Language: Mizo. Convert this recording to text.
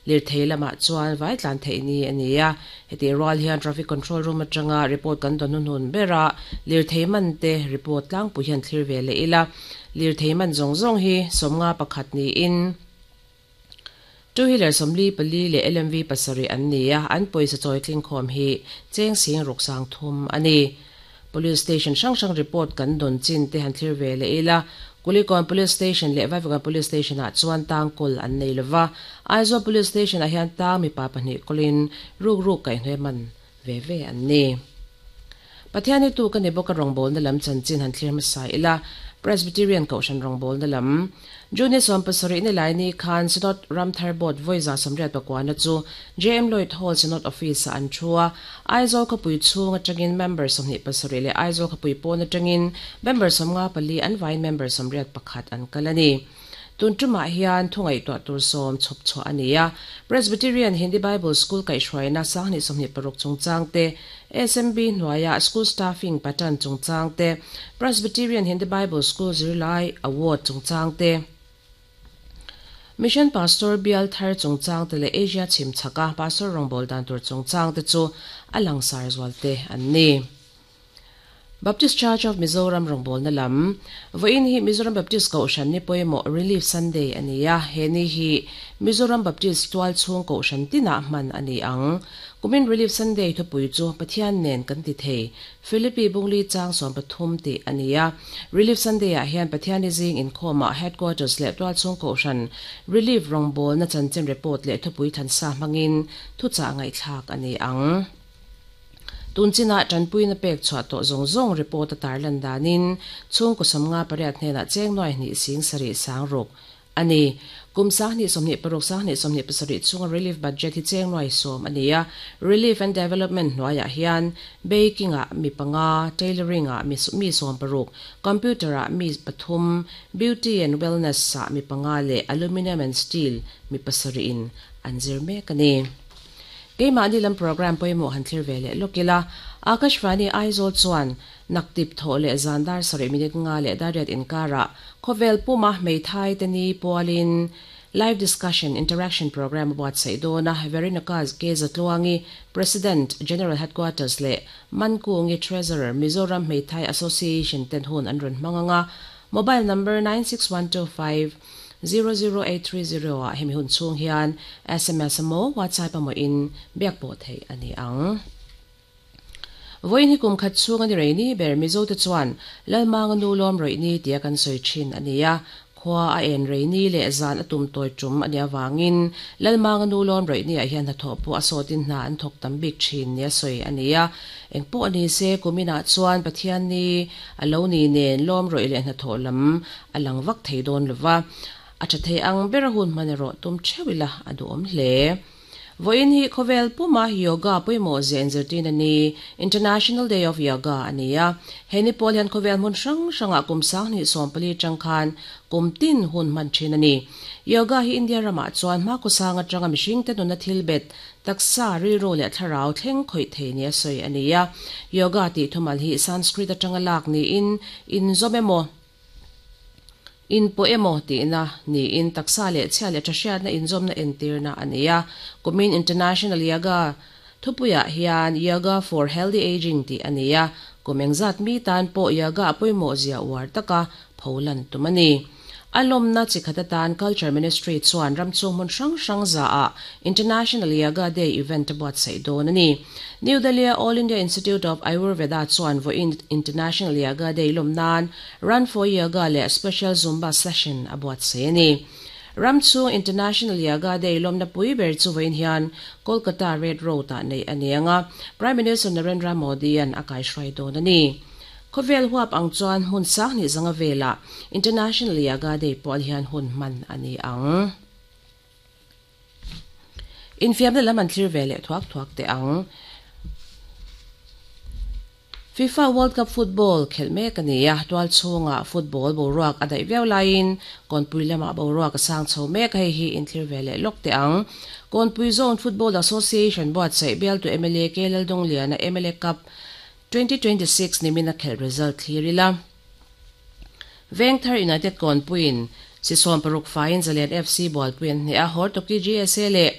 Lirthei lamah chuan vai tlan theih ni a ni a, hetih rual hian traffic control room atanga report kan dawn hnuhnun ber a, lirthei man te report tlangpui hian thlir ve leh ila. Lirthei man zawng zawng hi 51 niin two wheeler 44 leh LMV 7 an ni a, an pawisa chawi tling khawm hi cheng 6003 a ni. Police station hrang hrang report kan dawn chin te han thlir ve leh ila. Kulikawn Police Station leh Vaivakawn Police Station ah chuan tang kawl an nei lova, Aizawl Police Station ah hian tang mipa pahnih kawlin ruk ruk kaihhnawih man ve ve an ni. Pathian hi tu ka ni bawk a rawngbawlna lam chanchin han thlir hmasa ila, Presbyterian Kohhran rawngbawlna lam June 17 ni lai ni khan Synod Ramthar Board vawi 89 na chu JM Lloyd Hall Synod Office ah an thu a, Aizawl khawpui chhung atangin member 27 leh Aizawl khawpui pawn atangin member 54 an vaiin member 81 an kal a ni. Tun tumah hian thu ngaihtuah tur 10 chhawp chhuah a ni a, Presbyterian Hindi Bible School kaihhruaina 2026 chungchang te, SMB hnuaia School Staffing Pattern chungchang te, Presbyterian Hindi Bible School zirlai Award chungchang te, Mission Pastor bial thar chungchang te leh Asia chhim chhaka Pastor rawngbâwl dan tur chungchang te chu a langsar zual te an ni. Baptist Church of Mizoram rawngbawlna lam Vawiin hi Mizoram Baptist Kohhran ni pawimawh Relief Sunday a ni a, he ni hi Mizoram Baptist tual chhung Kohhran tinah hman a ni ang. Kumin Relief Sunday thupui chu Pathian nen kan ti thei, Philippi Bungli chang 13 tih a ni a. Relief Sunday-ah hian Pathiani zing inkhawmah Headquarters leh tual chhung Kohhran Relief rawngbawlna chanchin report leh thupui thansa hmangin thuchah ngaihthlak a ni ang. Tun chinah tanpuina pek chhuah tawh zawng zawng report a tarlan danin chhungkaw 58 hnenah cheng 2 7,000 a ni. Kum 2026 2027 chhunga relief budget hi cheng 10,000 a ni a. Relief and Development hnuaiah hian baking ah mi 5, tailoring ah mi 16, computer ah mi 3, beauty and wellness ah mi 5 leh aluminium and steel mi 7 in an zir mek a ni. Keimahni lam program pawimawh han thlir ve leh lawk ila, Akashvani Aizawl chuan naktip thawh leh zan dar 7 minute 5 leh dar 8 inkarah khawvel puma hmeithai te ni pualin live discussion interaction program a buatsaih dawn a. Veronica K Zatluangi, President, General Headquarters leh Mankungi, Treasurer, Mizoram Hmeithai Association ten hun an rawn hmang anga, mobile number 96125 00830 ah hemi hun chhung hian SMS emaw WhatsApp emaw in biak pawh theih a ni ang. Vawiin hi kum khat chhung a ni rei ni ber Mizo te chuan Lalmanga nu lawm rawih ni tia kan sawi thin a ni a. Khua a en rei ni leh zan a tum tawi tum a nih avangin Lalmanga nu lawm rawih ni ah hian hnathawh pawh a sawtin hna an thawk tam bik thin nia sawi a ni a. Engpawh ni se kuminah chuan Pathian ni a lo ni nen lawm rawih leh hnathawh lam a lang vak thei dawn lova, a tha thei ang ber a hun hman erawh tum theuh ila a duhawm hle. Vawiin hi khawvel puma yoga pawimawh zia inzirtirna ni, International Day of Yoga, a ni a. He ni pawl hian khawvel hmun hrang hrangah kum 2014 atang khan kum tin hun hman thin a ni. Yoga hi India ramah chuan hmakhawsang atanga mihringte nuna thil bet, taksa, rilru leh thlarau thleng khawih thei nia sawi a ni a. Yoga tih thumal hi Sanskrit atanga lak niin inzawm emaw, inpawh emaw tihna niin taksa leh chhia leh thahriatna inzawmna entirna a ni a. Kumin International Yoga thupuiah hian Yoga for Healthy Aging tih a ni a. Kum engzat mi tan pawh yoga a pawimawh zia uar taka pholan tum a ni. A lawmna chi khat atan Culture Ministry chuan ram chhung hmun hrang hrang zaah International Yoga Day event a buatsaih dawn a ni. New Delhi-a All India Institute of Ayurveda chuan vawiin International Yoga Day lawm nan Run for Yoga leh Special Zumba Session a buatsaih a ni. Ram chhung International Yoga Day lawmna pui ber chu vawiin hian Kolkata Red Road-ah neih a ni ang a, Prime Minister Narendra Modi-a'n a kaihruai dawn a ni. Khawvel huap ang chuan hmun 25 velah International Yoga Day pual hian hun hman a ni ang. Infiamna lam an thlir ve leh thuak thuak teh ang. FIFA World Cup football khelh mek a ni a, tual chhungah football boruak a daih viau laiin kawnpui lamah boruak a sang chho mek a, hei hi inthlir ve leh lawk teh ang. Kawnpui Zone Football Association buatsaih bialtu mla K Laldawngliana mla Cup 2026 nimina khelh result thlir ila. Vengthar United kawnpuiin si 60 faiin Zalian FC Bualpui an hneh a, Hortoki GSA leh.